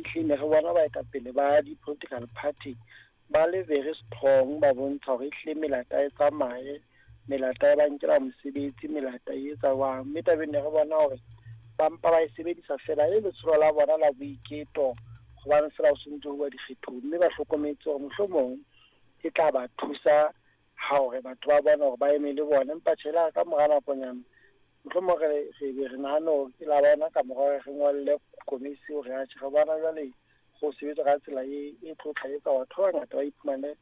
Ehlile ne re bona baetapele ba di-political party ba le very strong, ba bontsha hore ehlile melata e tsamaye, melata e ba nkela mosebetsi, melata e etsa jwang. Mme tabeng ne re bona hore ba mpa ba e sebedisa fela e le letsholo la bona la boiketo, hobane fela ho sentse ho uwa dikgethong, mme ba hlokometse hore mohlomong e tla ba thusa ha hore batho ba bona hore ba eme le bona. Empa tjhe, la ka mora nakonyana mohlomong re be re nahane hore ke la bona ka mora hore re ngolle komisi hore atjhe re bona jwale go sebetsa ka tsela e tlo tla etsa batho ba bangata ba iphumane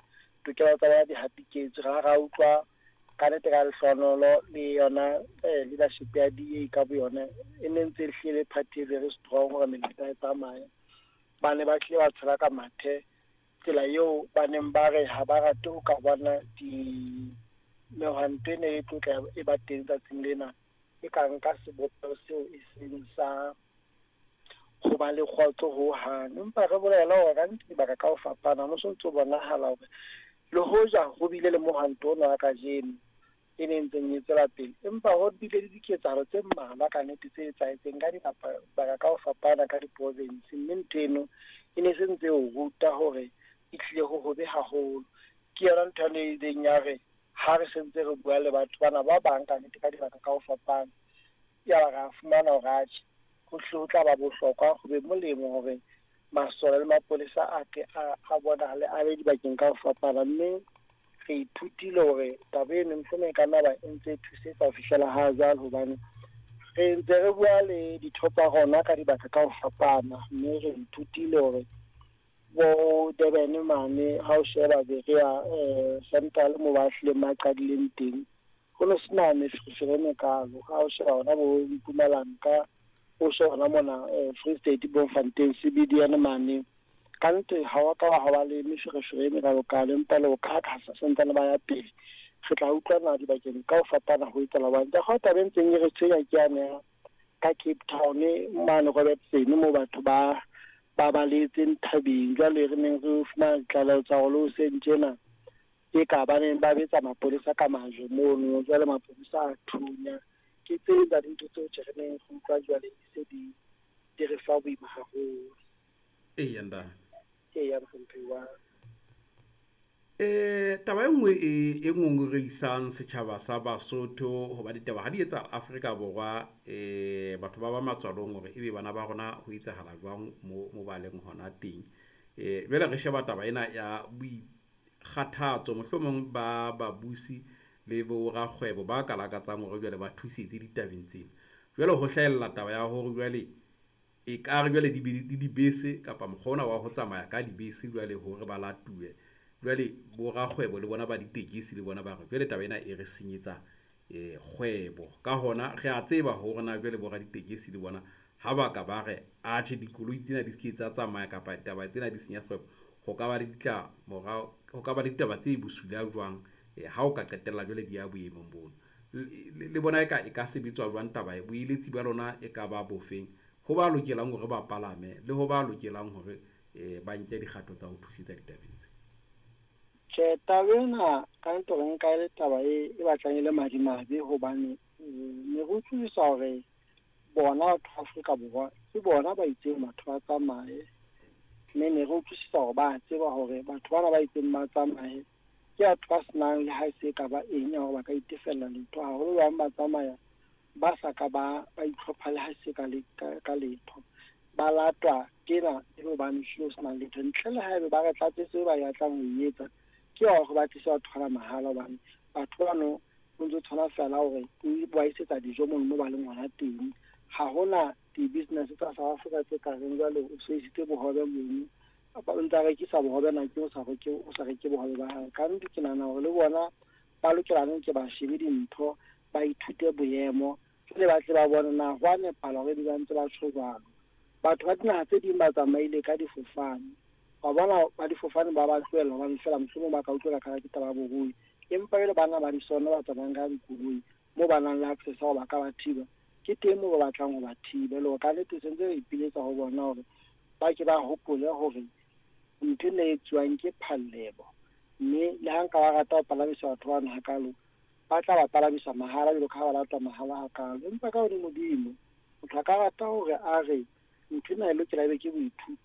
tokelo tsa bona di hatiketswe. Ra utlwa ka nnete ka lehlohonolo le yona leadership ya DA ka boyona e ne ntse e hlile party e very strong hore melata e tsamaye. Ba ne ba hlile ba tshela ka mathe tsela eo ba neng ba re ha ba rate ho ka bona di mehwanto e ne e tlotla e ba teng tsatsing lena, e ka nka sebopeho seo e seng sa ho ba le kgotso hohang. Empa re bolela hore ka nnete dibaka ka ho fapana ho so ntso bonahala hore le hoja ho bile le mohwanto ona wa kajeno e ne ntseng e tswela pele, empa ho bile le diketsahalo tse mmalwa ka nnete tse etsahetseng ka dibaka ka ho fapana ka di-province. Mme ntho eno e ne se ntse o ruta hore e hlile ho hobe haholo. Ke yona ntho ane e ileng ya re ha re sentse re bua le batho bana ba bang ka nnete ka dibaka ka ho fapana, ya ba ra fumana hore atjhe ho hlile ho tla ba bohlokwa, ho be molemo hore masole le mapolesa a ke a bonahale a le dibakeng ka ho fapana. Mme re ithutile hore taba eno mohlomong e ka nna ba e ntse e thusetsa ho fihlela ha jwale, hobane re ntse re bua le ditho tsa rona ka dibaka ka ho fapana. Mme re ithutile hore bo Durban mane ha o sheba Berea Central mo ba hlileng ba qadileng teng, ho no sena meferefere e mekalo. Ha o sheba hona bo Mpumalanga, o sheba hona mona Free State, Bloemfontein, CBD mane, ka nnete ha wa ka wa ba le meferefere e mekalokalo, empa le ho ka santsane ba ya pele. Re tla utlwana dibakeng ka ho fapana ho etsahala hobane ka taba e ntseng e re tshwenya ke yane ya ka Cape Town mane Robertson moo batho ba baletseng thabeng. Jwale re neng re fumana ditlaleho tsa hore le hoseng tjena e ka ba neng ba betsa mapolesa ka majwe mono, jwale mapolesa a thunya. Ke tse ding tsa dintho tseo tje re neng re utlwa jwale di se di re fa boima haholo. Eya ntate. Eya mohlomphehi wa. Taba e nngwe e ngongorehisang setjhaba sa Basotho, hoba ditaba ha di etsa Afrika Borwa, batho ba ba matswalong hore ebe bana ba rona ho etsahala jwang mo ba leng hona teng. Jwale re sheba taba ena ya boikgathatso mohlomong ba babusi le bo rakgwebo ba ka lakatsang hore jwale ba thusetse ditabeng tsena. Jwale ho hlahella taba ya hore jwale e ka re jwale di dibese kapa mokgwa ona wa ho tsamaya ka dibese jwale hore ba latuwe. Jwale bo rakgwebo le bona ba ditekesi le bona ba re jwale taba ena e re senyetsa kgwebo. Ka hona re a tseba hore na jwale bo raditekesi le bona ha ba ka ba re atjhe dikoloi tsena di se tsa tsamaya kapa taba tsena di senya kgwebo, ho ka ba le ditlamorao, ho ka ba le ditaba tse bosula jwang ha o ka qetella jwale di ya boemong bono. Le bona e ka sebetswa jwang taba e, boeletsi ba lona e ka ba bofeng ho ba lokelang hore ba palame le ho ba lokelang hore ba nke dikgato tsa ho thusetsa ditabeng tse? Tjhe, taba ena ka nnete re nka e le taba e batlang e le madimabe, hobane ne re utlwisisa hore bona batho ba Afrika Borwa ke bona ba itseng batho ba tsamaye, mme ne re utlwisisa hore ba tseba hore batho bana ba itseng ba tsamaye ke batho ba senang le ha e se ka ba eng ya hore ba ka itefella letho. Haholo ba bang ba tsamaya ba sa ka ba itlhopha le ha se ka letho, ba latwa tjena e le hobane hlile ho senang letho. Ntle le haebe ba re tlatsetse ba batlang ho e etsa, ke hore ba tlise batho bana mahala, hobane batho bano o ntso tshwana fela hore o ba isetsa dijo mono mo ba leng hona teng. Ha hona di-business tsa South Africa tse ka reng jwale o so isitse bohobe mono, o ntsa rekisa bohobe na ke o sa reke bohobe ba hae. Ka nnete ke nahana hore le bona ba lokela ke ba shebe dintho, ba ithute boemo, jwale ba tle ba bone na ho a nepahala hore ebe ba ntse ba tjho jwalo. Batho ba dinaha tse ding ba tsamaile ka difofane, wa bona ba difofane ba ba tlohella hobane fela mohlomong ba ka utlwela ka ke taba ya borui, empa jwale bana ba disona ba tsamayang ka dikoloi moo ba nang le access ya hore ba ka ba thiba, ke teng moo ba batlang ho ba thiba. Le hore ka nnete sentse re ipiletsa ho bona hore ba ke ba hopole hore ntho ena e etsuwang ke phallelo, mme le ha nka ba rata ho palamisa batho bana hakalo, ba tla ba palamisa mahala jwalo ka ha ba latwa mahala hakalo. Empa ka hodimodimo motho a ka rata hore a re ntho ena e lokela ebe ke boithuto.